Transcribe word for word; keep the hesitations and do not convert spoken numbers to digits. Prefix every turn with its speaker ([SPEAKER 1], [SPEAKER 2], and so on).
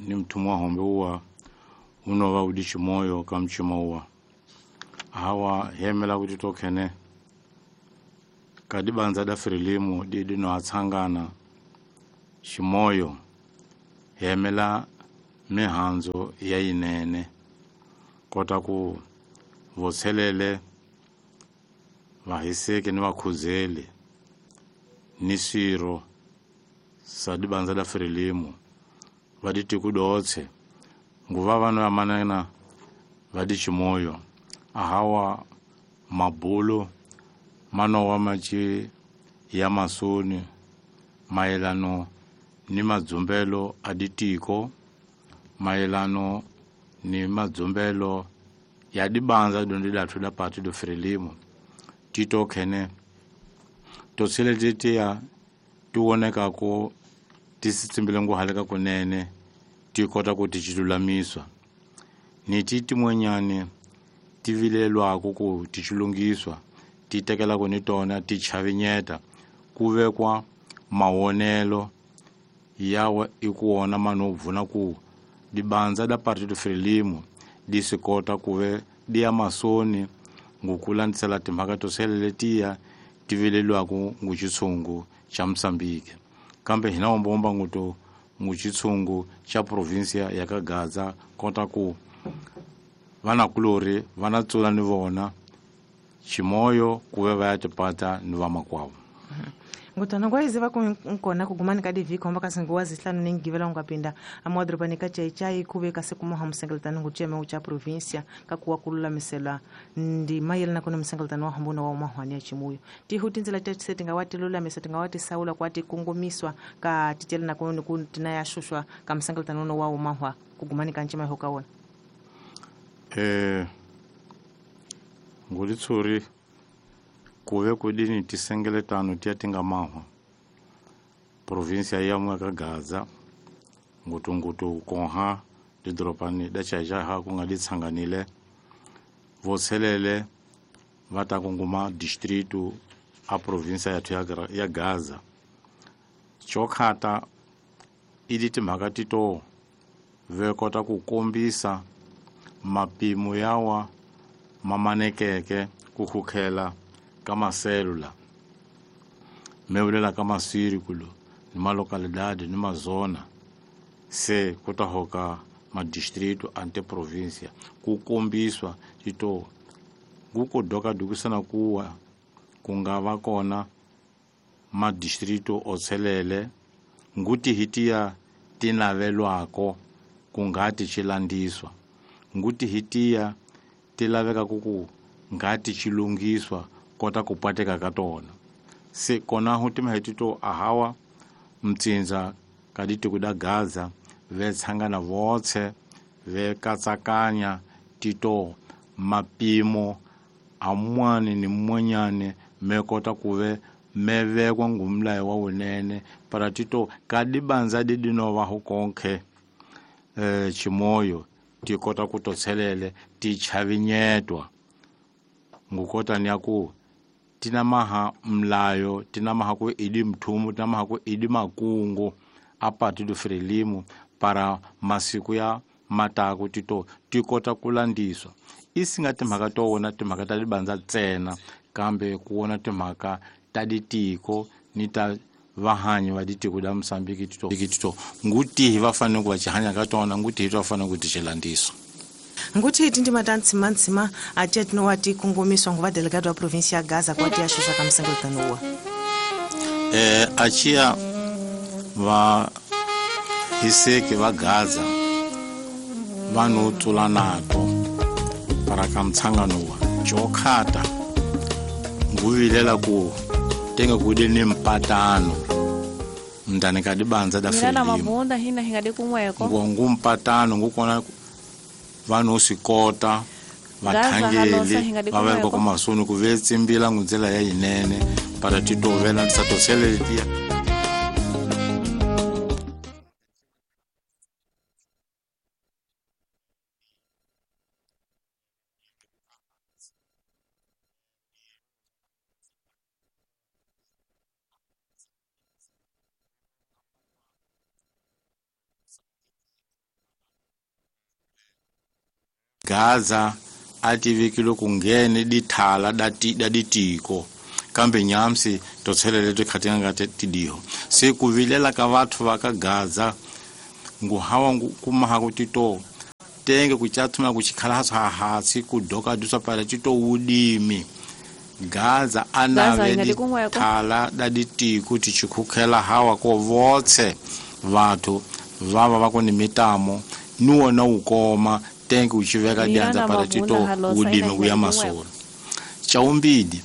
[SPEAKER 1] ni mtumwa hombe uwa unova udi chimoyo ka mchima uwa hawa hemela kuti tokhene kadibanza da Frelimo didi no atsangana chimoyo hemela mihanzo ya inene kota ku votselele vahiseke ni vakhuzeli ni swiro sa dibanza da Frelimo vaditi kudotse nguva vano yamanana vadi chimoyo ahawa mabulo manowa machi ya masoni maelano ni madzumbelo a ditiko maelano ni madzumbelo ya dibanza dondi dathu da Partido Frelimo tito khene totshelete ya tiwoneka ko tisitsimbile nguhaleka kunene ti kota ku ti chilulamiswa ni ti tin'wanyani ti vilelwako ku ti chilungiswa ti tekelako ni tona ti chavinyeta ku vekwa mawonelo yawa i ku wona mano bvuna ku dibanza da Partido Frelimo di swi kota ku ve di ya masoni ngukulandisela timhaka to seleletiya ti vilelwaku ngu xitshungu xa Mozambique kambe hina wombomba nguto ngu xitshungu xa provinsia ya ka Gaza kota ku vanakulori va na tsula ni vona ximoyo ku ve va ya tipata ni vamakwavo.
[SPEAKER 2] Ngutana ngwaiziva ku nkona kugumani ka divhiki homba kasi nguwa zihlanu ningivela ungapinda amadorobani ka Chaichai kuve kasi kumoha musengeletano ngucheme ucha provincia kakuwa kululamisela ndi mayelana kuna musengeletano wa hambuna wa umahwani ya chimuyo tihu tinzela tese tingawati lulamisa tingawati saula kwati kungumiswa ka titelana kuna kutina ya shushwa ka musengeletano uno wa umahwa kugumani ka nchima hokaona
[SPEAKER 1] eh ngulitsuri kuve kudini tisengeletano tiya tinga mahwa provinsia ya mwe ka Gaza ngutungutu konha didropani da Chaichai ha ku nga ditsanganile votselele va ta kunguma distritu a provinsia yathu ya, ya Gaza chokhata idi timhaka tito ve kota ku kombisa mapimo yawa mamanekeke ku khukhela ka maselula meulela ka masirikulo ni malocalidade ni mazona se kuta hoka madistrito ante provincia ku kombiswa tito nguko doka dukisana kuwa kunga va kona madistrito otselele nguti hitiya tinavelwako kungati chilandiswa nguti hitiya tilaveka kuku ngati chilungiswa kota kupateka ka tona se kona hu timhetito ahawa mtsinza kaditi kuda Gaza ve tshangana votse ve katsakanya tito mapimo amwani ni mwanyane me kota kuve mevekwa ngumlayo wa wunene para tito kadibanza didinova hukonkhe eh chimoyo tikota kutotselele tichavinyetwa ngukota ni aku tinamaha mlayo tinamaha ku idi mthumu tinamaha ku idi makungu a Partido Frelimo para masiku ya mataku tito tikota kulandiswa isinga timhaka to wona timhaka ta dibanza ntsena kambe ku wona timhaka ta ditiko ni ta vahanyi va ditiko da Mozambique tito tito ngutihi va fanele ku va chihanya ka tona ngutihi va fanele ku ti xilandiswa.
[SPEAKER 2] Nguti tindima ta ntsima-ntsima atia tinowati kungumiswa nguva delegado wa provincia ya Gaza kwati ya shusha ka msengeletano uwa
[SPEAKER 1] eh achia va hiseke va Gaza vanhu tsula nato para ka mtsangano wa chokhata nguvilela ku tenga kude ni mpatano mndani ka dibanza da
[SPEAKER 3] Mina na
[SPEAKER 1] Frelimo
[SPEAKER 3] mabunda hina hingade kumweko
[SPEAKER 1] ngu mpatano ngukona vanhu swikota vathangeli va veka ku masoni ku ve tsimbila ngundzela ya yinene para titovela tisatoseletiya. Gaza a tivekile ku nghene dithala da ti da ditiko kambe nyamsi to tshelele to khatinga nga tidiho se ku vilela ka vathu va ka Gaza ngu hawa ngu kumaha ku tito tenge ku chathuma ku chikhala ha hatsi ku doka dusa para tito udimi Gaza anave dithala da ditiko tichikhukhela hawa ko votse vathu vava va ku ni mitamo ni wona wu koma tenge uchiveka
[SPEAKER 3] Mirana
[SPEAKER 1] dyandza para
[SPEAKER 3] mavuna
[SPEAKER 1] tito
[SPEAKER 3] halosa
[SPEAKER 1] udimi
[SPEAKER 3] ina
[SPEAKER 1] kuya
[SPEAKER 3] hinga
[SPEAKER 1] masolo chaumbidi